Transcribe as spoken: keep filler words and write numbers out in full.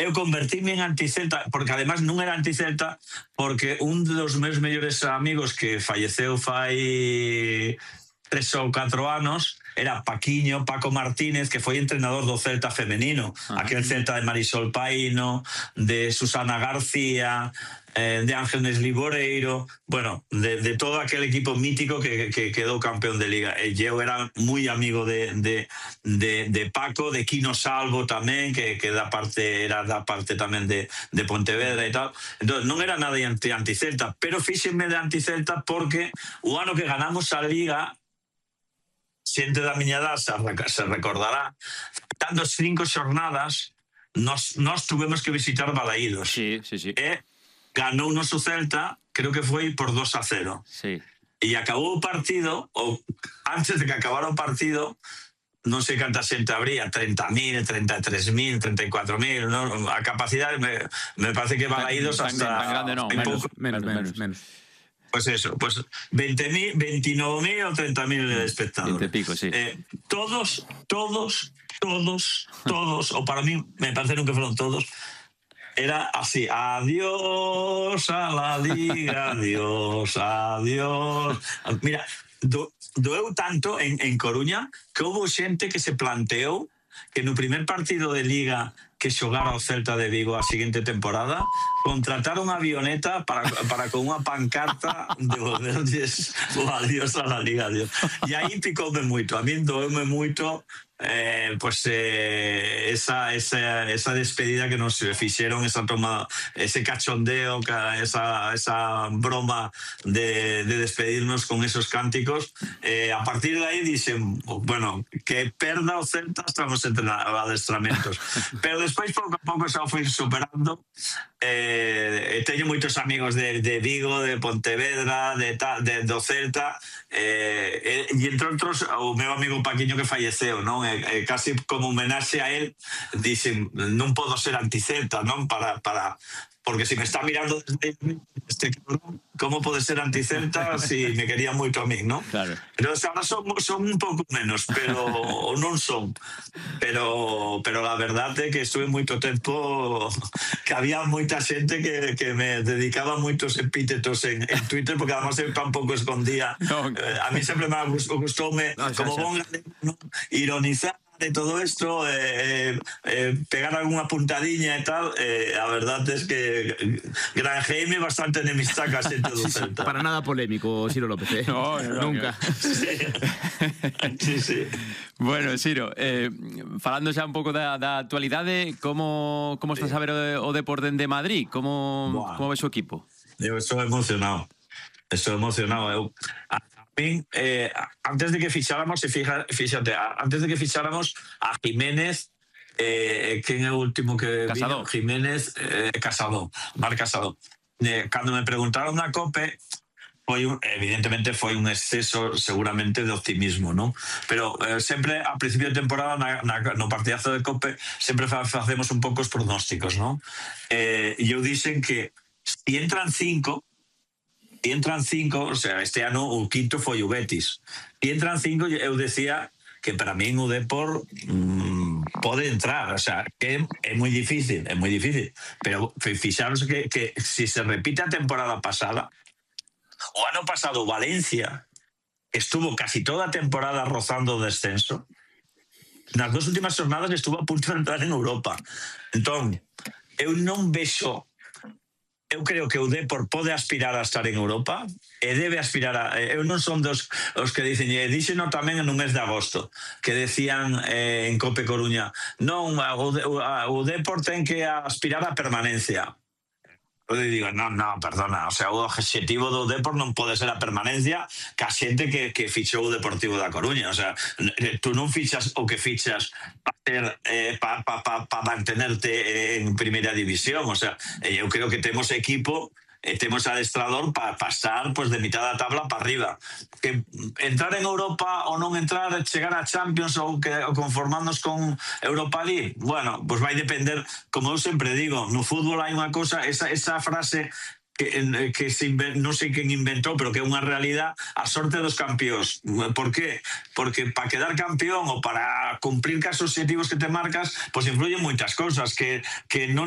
eu convertíme en anticelta, porque además non era anticelta, porque un dos meus mellores amigos que falleceu fai tres ou catro anos era Paquiño, Paco Martínez, que foi entrenador do Celta femenino, uh-huh. aquel Celta de Marisol Paíno, de Susana García, eh, de Ángeles Liboreiro, bueno, de, de todo aquel equipo mítico que, que quedou campeón de Liga. E eu era moi amigo de, de, de, de Paco, de Quino Salvo tamén, que, que da parte, era da parte tamén de, de Pontevedra e tal. Entón, non era nada anti, anticelta, pero fíxenme de anticelta porque o ano que ganamos a Liga, xente da miña edad se recordará, dando cinco xornadas, nos, nos tuvemos que visitar Balaídos. Sí, sí, sí. E ganou o noso Celta, creo que foi por dos a cero. Sí. E acabou o partido, ou antes de que acabara o partido, non sei canta xente habría, treinta mil, treinta e tres mil, treinta e cuatro mil, ¿no? A capacidade me, me parece que Balaídos hasta... Tan grande non, menos, menos, menos, menos. Pues eso, pues veinte mil, veintinueve mil o treinta mil espectadores. veinte pico, sí. Eh, todos, todos, todos, todos, o para mí me parece que fueron todos, era así: adiós a la Liga, adiós, adiós. Mira, do, doeu tanto en, en Coruña que houve xente que se planteou que no primer partido de Liga que xogara o Celta de Vigo a seguinte temporada contrataron unha avioneta para, para con unha pancarta devolverlles o adiós a la Liga, adiós. E aí picoume moito, a min doeume moito eh, pues, eh, esa, esa, esa despedida que nos fixeron, esa toma, ese cachondeo, esa, esa broma de, de despedirnos con esos cánticos. Eh, a partir de aí dixen, bueno, que perda o Celta hasta nos adestramentos. Pero despois pouco a pouco xa o fui superando. Eh, teño moitos amigos de, de Vigo, de Pontevedra, de, de, do Celta, eh, e entre outros o meu amigo Paquiño que falleceu, non? E, e casi como homenaxe a él dixen, non podo ser anticelta, non? Para, para, porque si me está mirando desde este cabrón, como pode ser anticelta si me quería moito a mí, non? Claro. Pero ahora son, son un pouco menos, pero non son. Pero pero a verdade é que estuve moito tempo que había moita xente que, que me dedicaba moitos epítetos en, en Twitter, porque además eu tampouco escondía. No. Eh, a mí sempre me gustoume, no, como bon galego, ¿no? Ironizar de todo esto, eh, eh, pegar alguna puntadiña e tal. Eh, a verdade é que granjeime bastante enemistad ca xente do Celta. Para nada polémico, Ciro López, eh? No, no, nunca. Sí, sí, sí. Bueno, Ciro, eh, falando xa un pouco da, da actualidade, como, como estás a ver o, o Depor dende Madrid? Como, como ves o equipo? Eu estou emocionado. Estou emocionado. Eu... Eh, antes de que ficháramos, fija, fíjate, antes de que ficháramos a Jiménez, eh, que é o último que Casado. vino, Jiménez, eh, Casado, Mar Casado. Eh, cando me preguntaron na COPE, foi un, evidentemente foi un exceso seguramente de optimismo, ¿no? Pero eh, sempre a principio de temporada na, na, no partidazo de COPE sempre fa, facemos un pouco os pronósticos, ¿no? Eh, e eu dixen que si entran cinco E entran cinco, o sea, este ano o quinto foi o Betis. E entran cinco, eu decía que para min o Depor mmm, pode entrar, o sea, que é moi difícil, é moi difícil, pero fixaros que, que si se repite a temporada pasada, o ano pasado Valencia estuvo casi toda a temporada rozando o descenso, nas dos últimas jornadas estuvo a punto de entrar en Europa. Entón, eu non vexo. Eu creo que o Depor pode aspirar a estar en Europa e debe aspirar a... Eu non son dos os que dicen, e díxeno tamén no mes de agosto, que decían eh, en Cope Coruña, non, o, o Depor ten que aspirar a permanencia. Eu digo, non, non, perdona, o sea, o objetivo do Depor non pode ser a permanencia que a xente que, que fichou o Deportivo da Coruña, o sea, tú non fichas o que fichas para ter, eh, pa, pa, pa, pa mantenerte en primeira división, o sea, eu creo que temos equipo e temos adestrador para pasar pues, de mitad da tabla para arriba. Que entrar en Europa ou non entrar, chegar a Champions ou, que, ou conformarnos con Europa League, bueno, pues vai depender, como eu sempre digo, no fútbol hai unha cosa, esa, esa frase que, que se inven, non sei quen inventou, pero que é unha realidad, a sorte dos campións. Por qué? Porque para quedar campeón ou para cumplir cas objetivos que te marcas, pues influyen moitas cousas que, que non